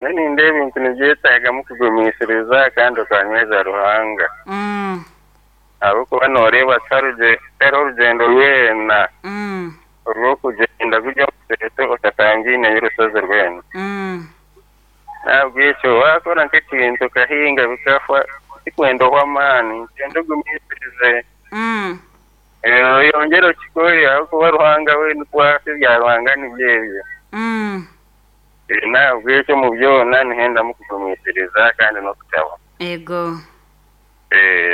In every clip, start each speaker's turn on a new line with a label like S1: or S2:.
S1: Nyowe nindeeba ebintu nibyetagamu kugumisiriza kandi okanyweza Ruhanga. Ahabw'okuba nooreeba tihariho orugyendo rwena orw'okugyenda guri omu museeto otatangaineyo orushozi rwena. N'ahabw'ekyo waakora nk'ekintu okahinga bikafa, tikwenda ohwe amaani, nikyenda ogumisirize oyongyere okikore ahabw'okuba Ruhanga we nikwo ati, ebya Ruhanga nibyo ebyo. N'ahabw'ekyo omu byona nihendamu kugumisiriza kandi n'okushaba.
S2: Ego.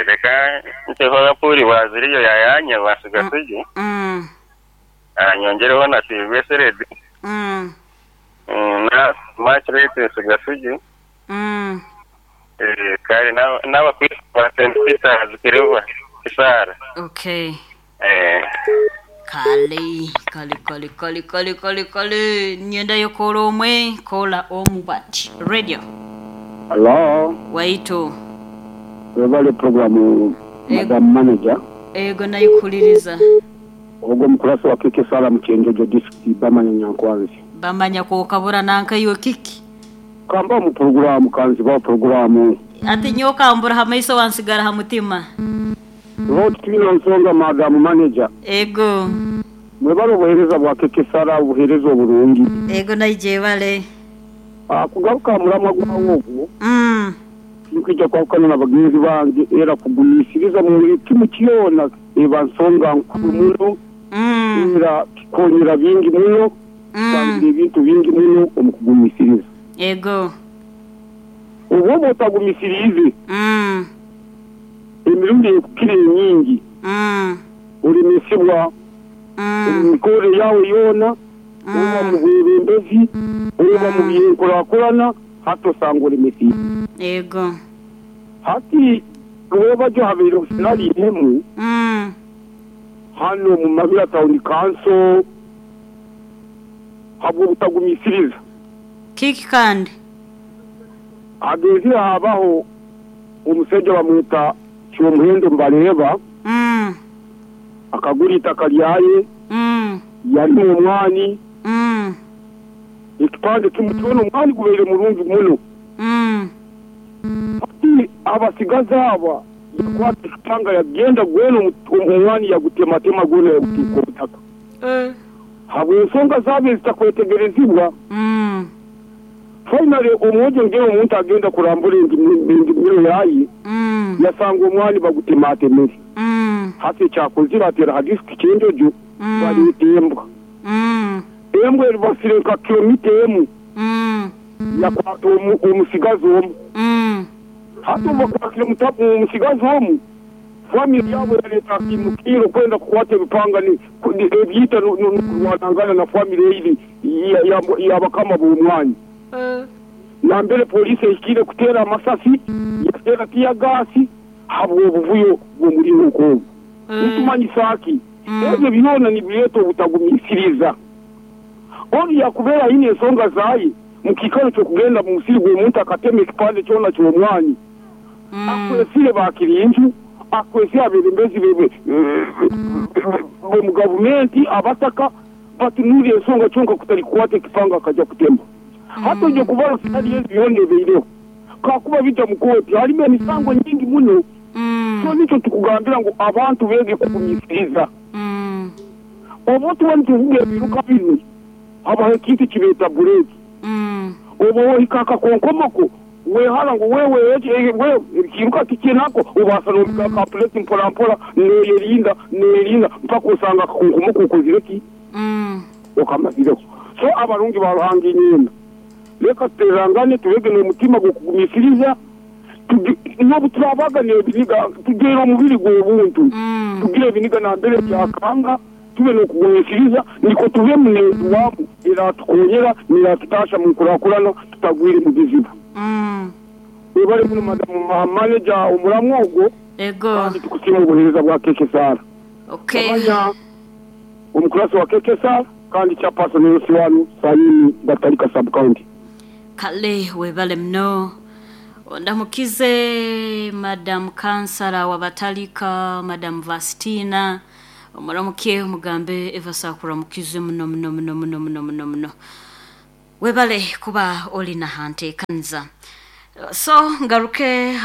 S1: Reka nteho Apuri Baziriyo yayanyeba Sigasugi, nyongyereho na Siibwe Seredi na Margaret Sigasugi, kare n'abakristo ba St. Peters Kiribwa Kisaara.
S2: Okay. Kale, kale, kale, kale, kale, kale, kale. Nyendayo koola omwe, koola omu bati. Radio.
S3: Hallo,
S2: Waitu.
S3: Webale program madam manager.
S2: Ego naikuhuliriza.
S3: Ogwo omukurasi wa KK Sarah mu Kyenjojo district Bamanya Nyankwanzi.
S2: Bamanya kwokabura nanka iwe kiki?
S3: Kamba omu puroguramu kanzibaho puroguramu.
S2: Ati nyowe okambura ha maiso wansigara ha mutima.
S3: Lord twine nsonga madam manager.
S2: Ego.
S3: Mwebale obuhereza bwa KK Sarah obuhereza oburungi.
S2: Ego naija ebale.
S3: Kugaruka aha muramwa gwawe ogwo, tinkwija kwahukana na bagenzi bange era kugumiisiriza mu buli kimu kyona eba nsonga nkuru muno era kikonyera bingi muno, kitangira ebintu bingi muno omu kugumiisiriza.
S2: Ego.
S3: Obu oba otagumisiriize, emirundi erukukira enyingi olemesibwa omu mikorre yaawe yoona, oba mu bwebembezi, oba mu by'enkurakurana, hati osanga olemesiibwe.
S2: Ego.
S3: Hati rwebagyo habaireho scenario emu hanu omu Mabira Town Council habw'obutagumisiriza.
S2: Kiki kandi?
S3: Hagenzire habaho omusaija bamweta Kyomuhendo Mbareeba, akagura itaka lyaye, yalima omwani, ekipande kimu kyona omwani gubaire murungi muno. Hati abasigazi aba yakwata ekipanga yagenda gwena omwani yagutematema gwona yaguteeka obutaka. Habw'ensonga zaabo ezitakwetegerezibwa, finally omwojo ngera omuntu agenda kurambura endimiro yaye, yasanga omwani bagutematemere. Hati ekyakozire atera ha district Kyenjojo baleeta embwa. Embwa eribasire nka kilomita emu yakwata omusigazi omu. Hati obu bakwasire omusigazi omu, famire yabo yaleeta akaimukirro kwenda kukwata ebipanga ebiita n'okurwanangana na famire eri y'abakama b'omwanya. Nambere poliisi ehikire kuteera amasasi, yateera tiyagaasi habw'obuvuyo bw'omulingo nk'ogu. Nitumanyisa ki? Ebyo byona nibireeta obutagumiisiriza. Onu yakubaire aine ensonga zaye mu kiikaro ky'okugenda mu musiri gw'omuntu akatema ekipande kyona ky'omwani. Akwesire bakirinju, akwesire abebembezi b'omu gavumenti, abataka, batunuulire ensonga kyonka kutali kukwata ekipanga akaja kutema. Hati oija kubara scenario ezi yoona ebaireho. Kakuba bija mu kooti halimu emisango nyingi muno. So nikyo tukugambira ngu abantu beege kugumiisiriza. Obu tuba nituvuga ebiiruka binu, habaho ekintu eki beeta bureeki. Obu ohika akakonkomoko, wehara ngu wewe wewe ekiiruka tikye nako, obaasa n'omiga aka bureeki mpora mpora, noyerinda, noyerinda mpaka osanga akakonkomoko okozire ki? Okamazireho. So abarungi ba Ruhanga inywena, leka tutererangane, tubege n'omutima gw'okugumiisiriza. N'obu turaabaga n'ebiniga, tugeere omubiri gw'obuntu, tugire ebiniga nambere byakanga, tube n'okugumiisiriza, nukwo tubemu n'enduwamu eraatukoonyera n'eraatutaahya mu nkurakurana tutagwire mu bizibu. Webale muno Madam Manager omuramwa ogwo kandi tukusiima obuheereza bwa KK Sarah. Wamanya omukurasi wa KK Sarah kandi Chairperson LC1 Sayuni Batalika Sub County.
S2: Kale webale muno. Ondamukize Madam Kansala wa Batalika, Madam Vastina, omuramuke omugambe Eva Sakura mukize muno muno muno muno muno muno muno. Webale kuba oli nahanteekaniza. So ngaruke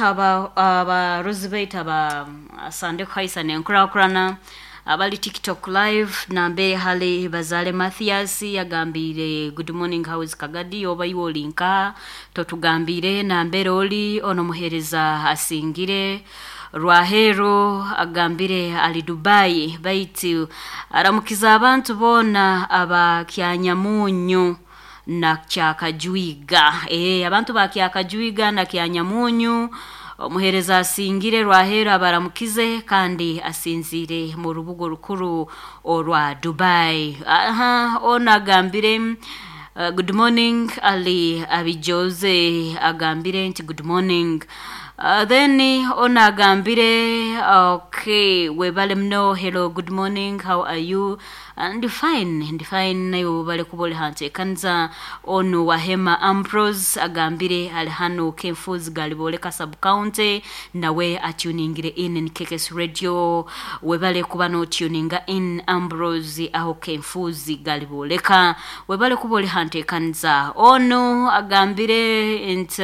S2: abarozi baitu aba Sande Kuhaisa nenkurakurana abali TikTok live nambe hali Bazale Mathias yagambire good morning, how is Kagadi, oba iwe oli nka totugambire nambere oli ono muhereza asingire Rwahero agambire ali Dubai baitu aramukiza abantu boona aba Kyanyamunyu na Kyakajwiga. Abantu ba Kyakajwiga na Kyanyamunyu omuhereza asingire Rwahero abaramukize kandi asinzire mu rubugo rukuru orwa Dubai. Aha, ono agambire good morning ali Abijoze agambire nti good morning. Then ono agambire okay, webale mno, hello, good morning, how are you? Ndi fine, ndi fine, naye webale kuba oli hanteekaniza. Ono Wahema Ambrose agambire ali hano Kenfuzi Galiboleka sub county, nawe atuningire in KKS Radio. Webale kuba notuninga in Ambrose aho Kenfuzi Galiboleka, webale kuba oli hanteekaniza. Ono agambire nti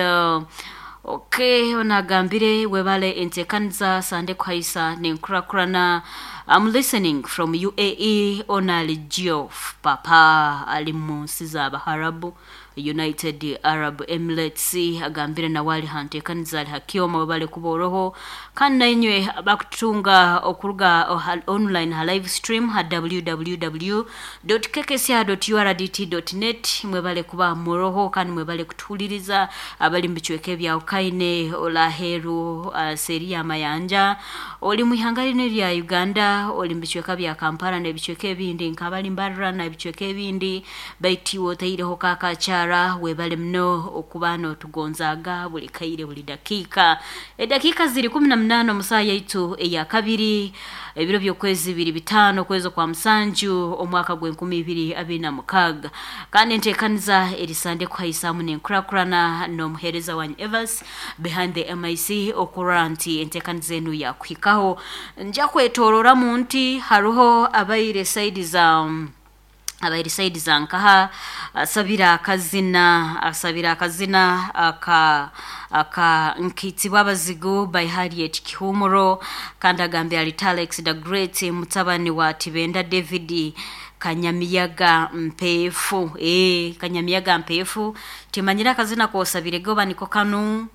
S2: okay, ono agambire webale enteekaniza Sande Kuhaisa nenkurakurana. I'm listening from UAE. Ono ali Geoff Papa ali mu nsi z'Abaharabu, United Arab Emirates, agambire nawe ali hanteekaniza ali hakyoma, webale kuba oroho. Kandi nainywe bakutunga okuruga online ha live stream ha www.kkca.urdt.net, mwebale kuba muroho kandi mwebale kutuhuliriza abali mu bicweka ebya Ukaine, Olaheru, seri ya Mayanja, oli mu ihanga lino erya Uganda, oli mu bicweka bya Kampala n'ebicweka ebindi nk'abali Mbarara n'ebicweka ebindi, baitu iwe otaireho kakakyara, webale muno okuba n'otugonzaaga buli kaire buli dakiika. Edakiika ziri 18 omu saaha yaitu eya kabiri, ebiro by'okwezi 25 okwezi kwa musanju omwaka gw'e2026. Kandi enteekaniza eri Sande Kuhaisamu nenkurakurana n'omuheereza wanyu Evans behind the MIC okurora nti enteekaniza enu yakuhikaho. Nja kwetororamu nti hariho abaire saidi za abaire saidi za nkaha asabira akazina, asabira akazina aka nkitibwa abazigu by Harriet Kihumuro, kandi agambye ali Talex the Great mutabani wa Tibenda David Kanyamiyaga Mpefu. Kanyamiyaga Mpefu timanyira akazina kosabire goba niko kanu,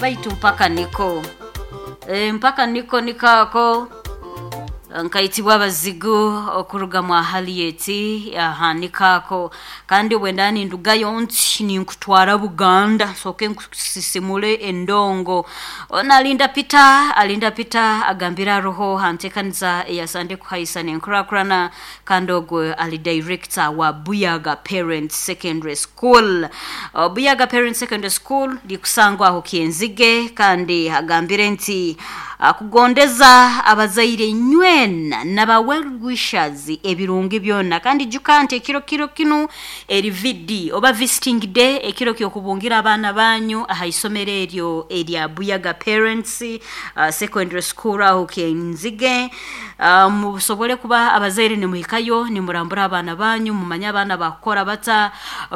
S2: baitu mpaka niko, mpaka niko nikako nkaitibwa abazigu okuruga mwa Harriet, aha nikako. Kandi bwenda nindugayo nti ninkutwara Buganda nsoke nkusisimule endongo. Ono alinda Peter, alinda Peter agambira roho hanteekaniza eya Sande Kuhaisa nenkurakurana, kandi ogwe ali director wa Buyaga Parents Secondary School. Buyaga Parents Secondary School likusangwa aho Kienzige, kandi agambire nti akugondeza abazaire nywena naba well wishers ebirungi byonna. Kandi juka nti ekiro kiro kinu eri VD oba visiting day, ekiro kyokubungira abaana banyu aha isomero eryo erya Buyaga Parents Secondary School aho Kienzige. Musobole kuba abazaire nimuhikayo nimurambura abaana banyu, mumanye abaana bakukora bata,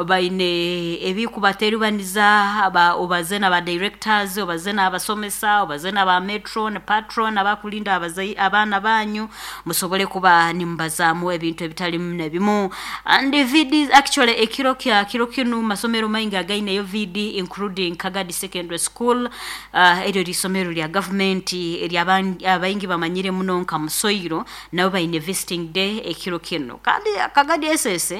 S2: baine ebikubaterubaniza, obaze n'aba directors, obaze n'abasomesa, obaze n'aba metron patron abakulinda abaana banyu, musobole kuba nimubazaamu ebintu ebitalimu nebimu. And VD actually ekiro kya kiro kinu masomero maingi againeyo VD including Kagadi Secondary School, eryo lisomero lya government erya abaingi bamanyire muno nka Musoiro, nabo baine visiting day ekiro kino. Kandi Kagadi SS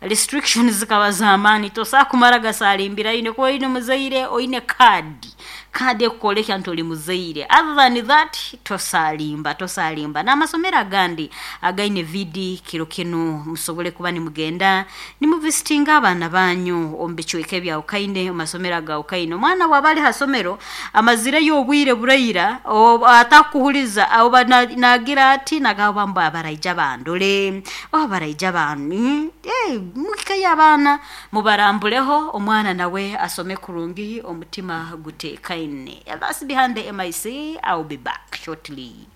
S2: restrictions zikaba z'amaani, tosobola kumara gasalimbira ine kuba oine muzaire oine kaadi, kaadi ekukolekya nti oli muzaire, other than that tosalimba, tosalimba. N'amasomero agandi againe VD kiro kinu musobole kuba nimugenda nimuvisitinga abaana banyu omu bicweka ebyawukaine, omu masomero agawukaine. Omwana bw'aba ali ha somero amazireyo obwire buraira atakuhuliza oba nagira ati nagamba mbu abaraija bandole oba baraija bani, muhikeyo abaana mubarambuleho, omwana nawe asome kurungi omutima guteekaine. That's behind the MIC. I'll be back shortly.